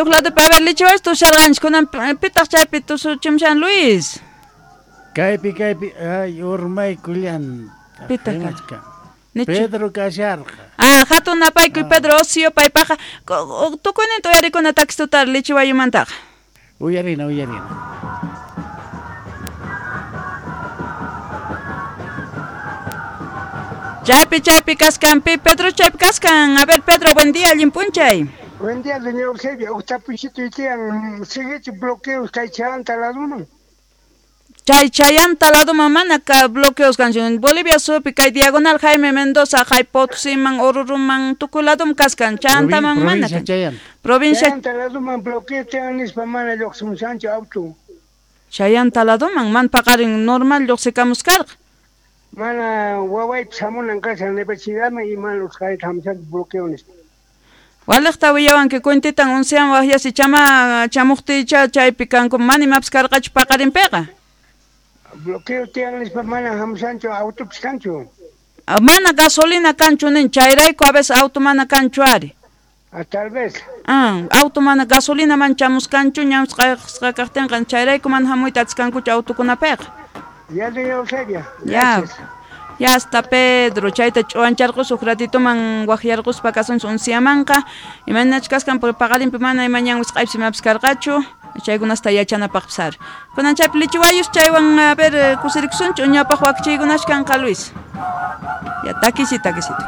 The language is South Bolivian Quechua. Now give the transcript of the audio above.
Uj ladopi, a ver, lichiwayus tusharqanchik, kunan pitaq chaypi tusuchimushan, Luis? Kaypi, kaypi, ay, urmaykullan. Pitaq? Rimachkan. Nichu. Pedro kasharqa. Ah, hatun napaykuy Pedro Ocio paypaqa tukuyninta uyarikuna takistutar lichiwayumantaqa. Uyarina, uyarina. Chaypi, chaypi kaskan, pi Pedro chaypi kaskan. A ver, Pedro, buen día, allin p'unchay. Buen día, doña Eusebia. Uj tapuysito tiyan, siguichu bloqueos kay chayanta laduman. Chay chayanta laduman mana ka bloqueos kanchu. Bolivia suyupi kay diagonal Jaime Mendoza, hay Potosiman, Oruruman, tukuy ladum kaskan. Chayantaman mana Provincia kan. Chayanta. Provincia Chayanta laduman bloqueo tiyan nispa mana lluqsimushanchu auto. Chayanta laduman man paqarin normal lluqsikamuskarqa. Mana wawaypis hamunan kashan universidadman y mana usqhayta hamushanchu bloqueo nispa. Waliqta willawanki cuentitan oncean waqyasi chama chamuqtiycha chaypi kanku mana imapas karqachu paqarinpiqa. Bloqueo tiyan nispa mana hamushanchu autopis kanchu. Ah, mana gasolina kanchu nin chayrayku a veces auto mana kanchu ari. Ah, tal vez. Ah, auto mana gasolina man chamuskanchu ñawsqasqa kaqtinqa chayrayku mana hamuyta atiskankuchu autokunapiqa. Ya, doña Eusebia. Ya. Gracias. Ya hasta Pedro, chayta ch'uwancharqus uj ratituman waqyarquspa kasunchis unciamanqa. Imaynachus kaskan por paqarinpi mana ima ñan wisq'aypis imapas karqachu. Chaykunasta yachanapaqpis ari. Kunan chaypi lichiwayus chaywan a ver kusirikusunchu ñawpaq wakichiykunash kanqa Luis. Ya takisito, takisito.